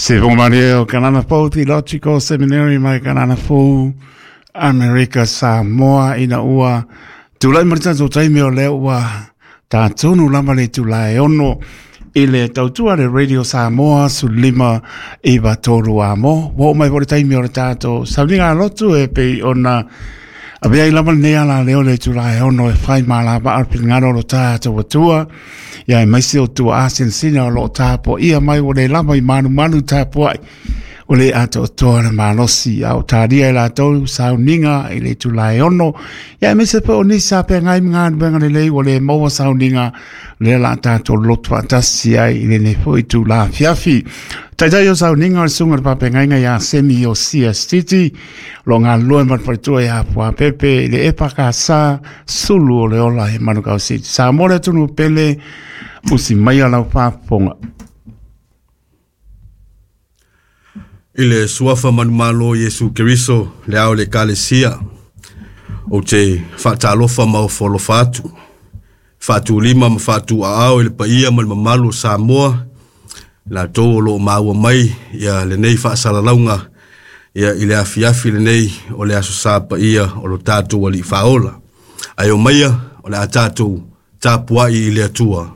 Se fofoga o Kanana Fou Theological Seminary mai Kanana Fou, Amerika Samoa ina ua tulai mai le tatou taimi o lea ua tatonu lava le itula e 6 i le tautua le Radio Samoa 15 93 amo. Ua oo mai foi le taimi o le tatou sauniga lotu e pei ona avea ai lava lenei ala leo le itula e 6 e fai malavaa le finagalo o lo tatou Atua. Ia aemaise o tuaa sinasina o loo tapuaia mai ua le lava i malumalu tapuai o le atoatoa le malosi a o talia e latou sauniga i le itula e 6. Ia aemaise foi o nisi sa feagai ma galuega lelei ua le maua sauniga lea la tatou lotu faatasi ai i lenei foi itula afiafi. Taitai o sauniga o le susuga i le faafeagaiga ia Semi Iosia Stiti, o lo o galulue ma le faletua ia Fuapepe i le EFKS Sulu o le Ola i Manukau City. Samoa le atunuu pele, usi maia lau faafofoga. I le suafa manumalo Iesu Keriso, le ao le Ekalesia, ou te faatalofa ma ofo alofa atu, faatulima ma faatuaao i le paia ma le mamalu o Samoa, latou o loo maua mai ia lenei faasalalauga ia i le afiafi lenei o le Aso Sa paia o lo tatou Alii Faaola. Ae omaia o le a tatou tapuai i le Atua.